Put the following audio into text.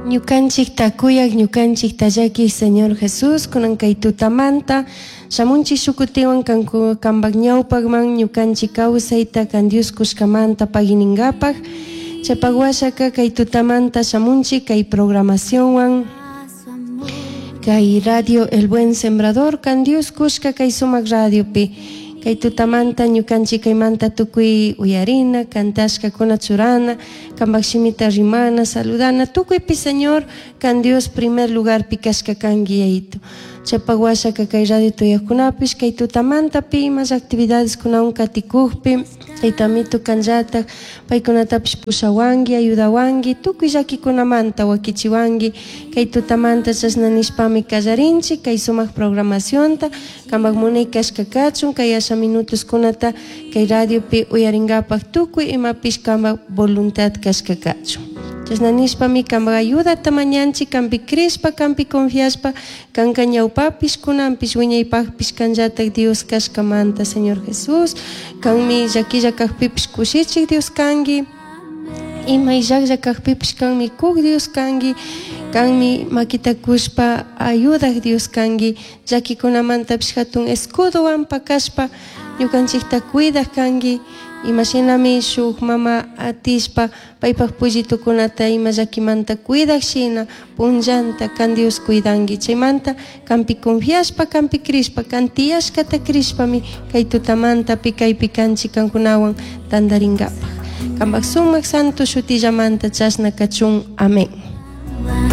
Ñukanchikta kuyak, ñukanchikta llakiq Señor Jesús, kunan kay tutamanta shamunchik shukutiwan kanku kanpak ñawpakman ñukanchik kawsayta kan Dios kushkamanta paginingapak. Chaypak washaka kay tutamanta shamunchik kay programacionwan kay radio El Buen Sembrador kan Dios kushka kay sumak radiopi. Kay tutamanta ñukanchik kaymanta tukuy uyarina, kantashkakuna churana, kanpak shimita rimana, saludana, tukuypi Señor kan Dios primer lugarpi kashka kanki Yayito. Chaypak washaka kay radio tuyakkunapish kay tutamantapi imas actividades kunawan katikukpi Tayta Amito kanllatak paykunatapish pushawanki, ayudawanki, tukuy llakikunamanta wakichiwanki kay tutamanta chashna nishpami kallarinchik kay sumak programacionta kanpak munay kashka kachun kay asha minutoskunata kay radiopi uyarinkapak tukuy imapish kanpak voluntad kashka kachun. Chashna nishpami kanpak ayudata mañanchik kanpi crishpa kanpi confiashpa kanka ñawpapish kunanpish wiñaypakpish kanllatak Dios kashkamanta Señor Jesús kanmi llaquilla kakpipish kushichik Dios kanki ima illaklla kakpipish kanmi kuk Dios kanki kanmi makita kushpa ayudak Dios kanki llakikunamantapis hatun escudowan pakashpa ñukanchikta cuidak kanki imashinami shuk mama atishpa paypak pullitukunata ima llakimanta cuidak shina punllanta kan Dios cuidanki chaymanta kanpi confiashpa kanpi crishpa kan tiyashkata crishpami kay tutamantapi kaypi kanchik kankunawan tantarinkapak kanpak sumak santo shutillamanta chashna kachun. Amén.